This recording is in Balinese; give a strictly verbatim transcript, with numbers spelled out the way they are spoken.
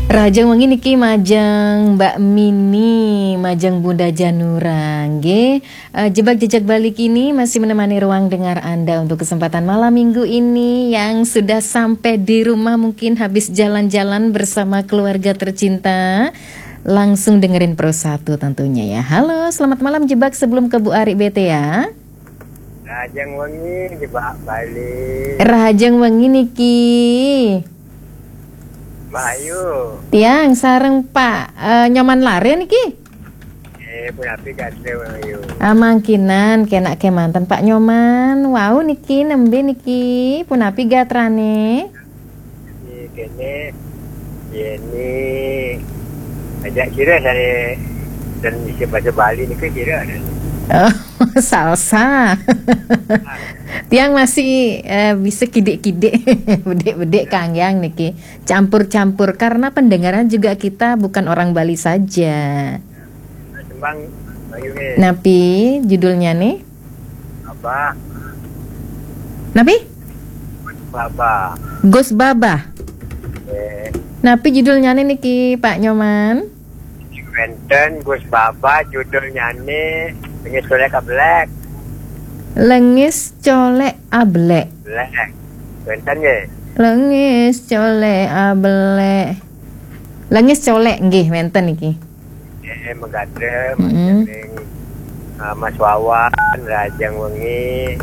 Rahajeng wengi niki majeng Mbak Mini, majeng Bunda Janura, nggih. Eh, Jebak Jejak Bali kini masih menemani ruang dengar Anda untuk kesempatan malam minggu ini. Yang sudah sampai di rumah mungkin habis jalan-jalan bersama keluarga tercinta. Langsung dengerin Pro satu tentunya ya. Halo, selamat malam Jebak, sebelum ke Bu Ari B T ya. Rahajeng wengi Jebak Bali. Rahajeng wengi niki. Mbak Ayu. Tiang sareng Pak, eh, Nyoman Lare niki. Eh, punapi gatra Mbak Ayu? Ah, mangkinan kenak kemanten Pak Nyoman. Wau niki nembe niki. Punapi gatrane? Niki kene, yeni, ajak kira dari dan isi bahasa Bali niki kira. Oh, salsa. Tiang masih, eh, bisa kidik-kidik, bedik-bedik kangyang niki. Campur-campur karena pendengaran juga kita bukan orang Bali saja. Tembang Mbak Ayu nggih. Napi judulnya nih? Babah. Napi? Babah. Gus Babah. Eh, Napi judulnya nih niki Pak Nyoman? Wenten Gus Babah judulnyane Lengis Colek Abelek. Lengis Colek Abelek. Belek. Wenten nggih. Lengis Colek Abelek. Lengis Colek nggih wenten niki. Eh, megadre, Mm-mm. Majaring, ah, Mas Wawan, Rahajeng wengi,